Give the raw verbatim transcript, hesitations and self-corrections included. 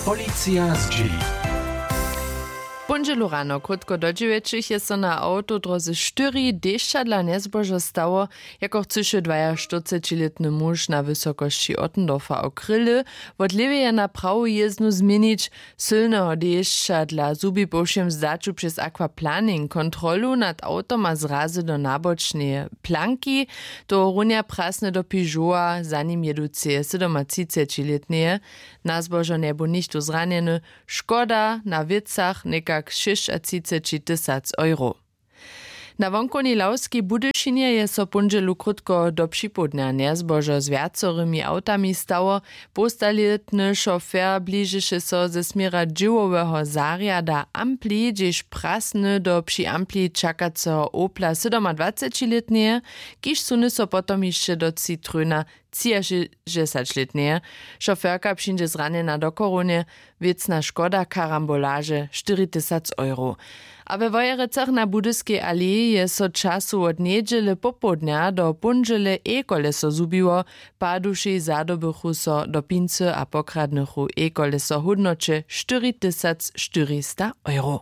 Policija zdźěli. W póndźelu rano krótko do dźewjećich je so na awtodróze štyri dešćadla njezbožo stało. Jako chcyše dwajaštyrcećilětny muž na wysokosći Ottendorfa o kryly wot lěweje na prawu jězdnu změnić. Sylneho dešćadla zhubi po wšěm zdaću přez aquaplaning kontrolu nad awtom a zrazy do nabočneje planki. Tohorunja prasny do pižowa za nim jěduceje sydomatřicećilětneje. Na zbožo njebu nichtó zranjeny. Škoda na wěcach někak šěsćatřiceći tysac euro. Na wonkownej lawskej budyšinje je so póndźelu krótko do připołdnja njezbožo z wjacorymi awtami stało. Połstalětny šofer bližeše so ze směra dźěłoweho zarjada ampli hdźež prasny do při ampli čakaceho opla sydomadwacećilětneje, kiž sunu so potom hišće do citrona třiašěsćdźesaćlětneje. Šoferka přińdźe zranjena do chorownje. Wěcna škoda karambolaže štyri tysac euro. A we wojerecach na budyskej aleji je so času wot njedźele popołdnja do póndźele ekoleso zhubiło. Padušej zadobychu so do pincy a pokradnychu ekoleso w hódnoće štyri tysac štyrista euro.